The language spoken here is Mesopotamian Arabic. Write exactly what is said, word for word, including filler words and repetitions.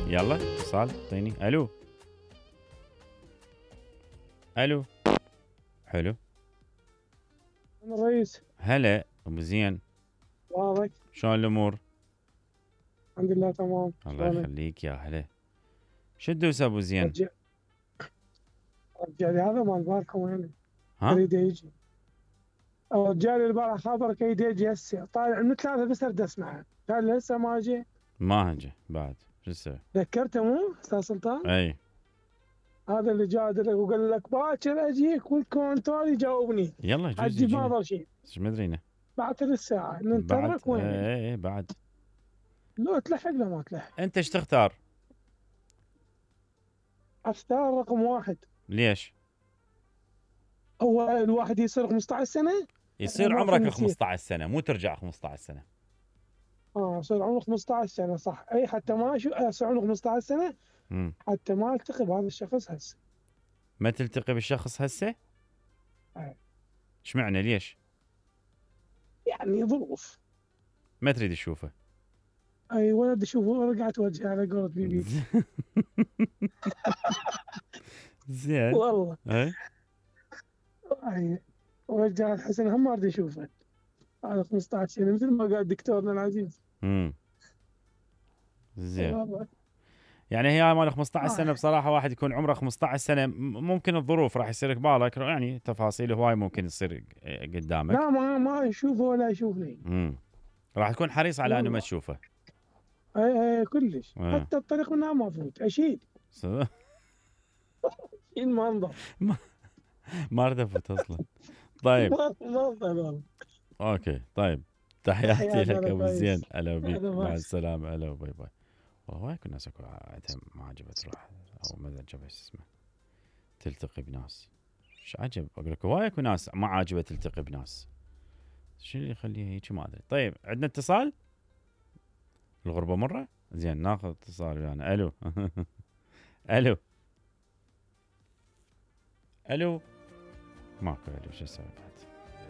يلا اتصال اعطيني. الو الو حلو. انا الرئيس. هلا ابو زين، واضح. شلون الامور؟ الحمد لله تمام. الله يخليك يا هلا. شو تدوس ابو زين؟ رجع رجع لي هذا مال البارحه وين؟ ها؟ يريد يجي. رجع لي البارحه خابرك يريد يجي هسه، طالع من ثلاثه بس اريد اسمعه، قال لي هسه ما اجي. ما اجي بعد، شو تسوي؟ ذكرته مو استاذ سلطان؟ اي هذا اللي جادلك وقال لك باكر اجيك والكونترول يجاوبني. يلا جوز حجي ما يجينا. ضل شيء. ايش مدرينا؟ بعد ثلث ساعه بعد ننتظرك وين؟ اي اي بعد. لو تلحق لو ما تلحق. انت ايش تختار؟ اختار رقم واحد. ليش؟ هو الواحد يصير خمسة عشر سنه؟ يصير ما عمرك فهمت. خمسة عشر سنه، مو ترجع خمسة عشر سنه. اه يصير عمره خمسة عشر سنه صح، اي حتى ما شو يصير عمره خمسة عشر سنه امم حتى ما التقي بهذا الشخص هسه. ما تلتقي بالشخص هسه؟ أي. ايش معنى ليش؟ يعني ظروف. ما تريد تشوفه؟ اي ولد اشوفه رجعت وجهي على قولة بيبي. زين. والله اي اي ورجع الحسن هم ما اريد اشوفه. هذا خمسة عشر سنه مثل ما قال دكتورنا العزيز. امم زين. والله يعني هي مال خمسة عشر آه. سنه بصراحه، واحد يكون عمره خمسة عشر سنه ممكن الظروف راح يصير قبالك، يعني تفاصيل هواي ممكن تصير قدامك. لا ما ما يشوفه ولا يشوفني. امم راح تكون حريص على انه ما والله. تشوفه. اي اي كلش. آه. حتى الطريق منها ما افوت اشيل. س- شيل ما انظر. ما اريد افوت اصلا. طيب ما ما انظر والله. اوكي طيب، تحياتي تحياتي لك على ابو كويس. زين، هلا بيك، هلا مع ماشي. السلامه، هلا باي باي. والله يكون ناس اكو عندها ما عجبت تروح او ما عجبها شو اسمه تلتقي بناس. ايش عجب اقول لك، هواي اكو ناس ما عاجبها تلتقي بناس، شو اللي يخليها هيك ما ادري. طيب عندنا اتصال. الغربه مره. زين ناخذ اتصال يعني. الو الو الو ماكو الو، شو اسوي؟